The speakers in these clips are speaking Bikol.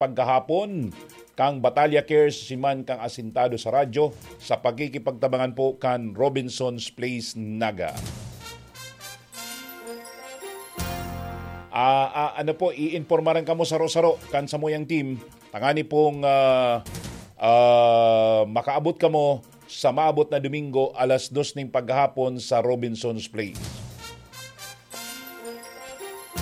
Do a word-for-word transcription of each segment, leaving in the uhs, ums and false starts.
paghahapon kan Batalya Cares, siman kan Asintado sa Radyo, sa pakikipagtabangan po kan Robinson's Place, Naga. Ah, ah, ano po, iinpormaran kamo saro-saro kan samuyang team, tangani pong, ah, ah, makaabot kamo sa maabot na Domingo, alas dos ning paghahapon sa Robinson's Place.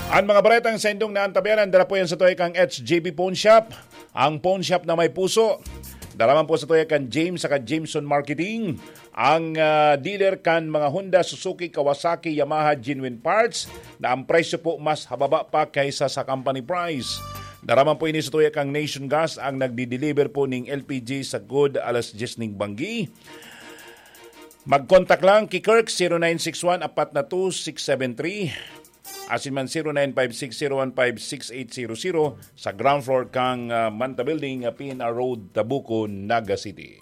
Ang mga baretang saindong naantabayanan, dara po yan sa tuya kang H J B Pawn Shop, ang pawn shop na may puso. Dara man po sa tuya kan James saka Jameson Marketing, ang, ah, dealer kan mga Honda, Suzuki, Kawasaki, Yamaha, genuine parts, na ang presyo po mas hababa pa kaysa sa company price. Dara man po ini sa tuya kang Nation Gas, ang nagdi-deliver po ning L P G sa good alas diyes ning banggi. Mag-contact lang ki Kirk, zero nine six one, apat na two, six seven three. Asin man zero nine five six zero one five six eight zero zero sa ground floor kang, ah, Manta Building, ah, P N R Road, Tabuco, Naga City.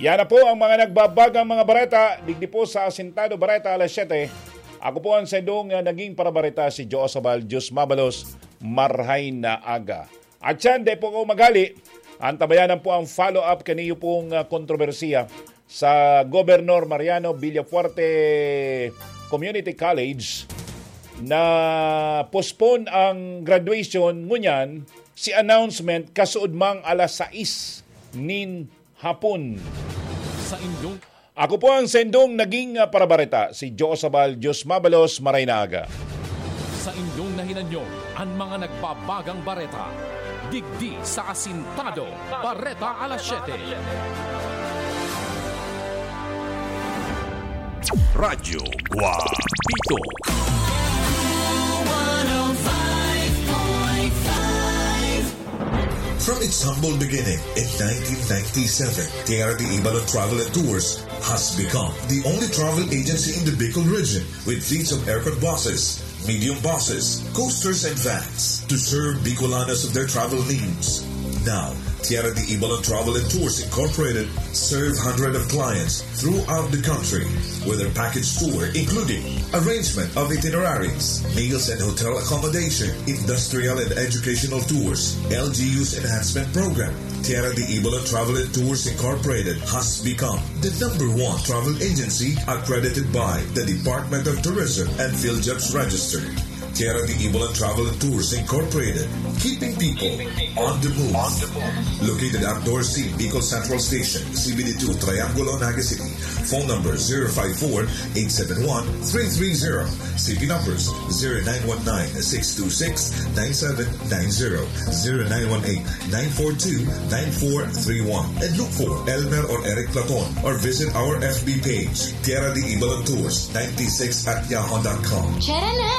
Yan na po ang mga nagbabagang mga bareta digdi po sa Asintado Bareta alas siyete. Ako po ang saindong, ah, naging parabareta, si Joe Sabal, Diyos mabalos, marhay na aga. At siyan, di po ako magali. Antabayanan po ang follow-up kaniyo pong, ah, kontrobersiya sa Gobernador Mariano Villafuerte Community College na postpone ang graduation ngunyan, si announcement kasuod mang alas sais nin hapon. Sa indong Ako po ang sendong naging, ah, parabareta, si Joe Sabal, Diyos mabalos, maray na aga. Sa indong nahinanyo, ang mga nagbabagang bareta. Digdi sa Asintado, Bareta alas siyete. Radyo Guapito. From its humble beginning in nineteen ninety-seven, Tierra de Ibalon Travel and Tours has become the only travel agency in the Bicol region with fleets of aircon buses, medium buses, coasters, and vans to serve Bicolanos of their travel needs. Now, Tierra de Ibalon Travel and Tours Incorporated serve hundreds of clients throughout the country with their package tour, including arrangement of itineraries, meals and hotel accommodation, industrial and educational tours, L G U's enhancement program. Tierra de Ibalon Travel and Tours Incorporated has become the number one travel agency accredited by the Department of Tourism and PhilJobs Register. Tierra de Ibalon Travel and Tours Incorporated, keeping people on the move. Located at Dorothy Bicol Central Station, C B D two, Triangulo, Naga City. Phone number zero five four, eight seven one, three three zero. C P numbers zero nine one nine, six two six, nine seven nine zero, zero nine one eight, nine four two, nine four three one. And look for Elmer or Eric Platon or visit our F B page, Tierra de Ibalon Tours ninety-six at yahoo dot com. Tara na!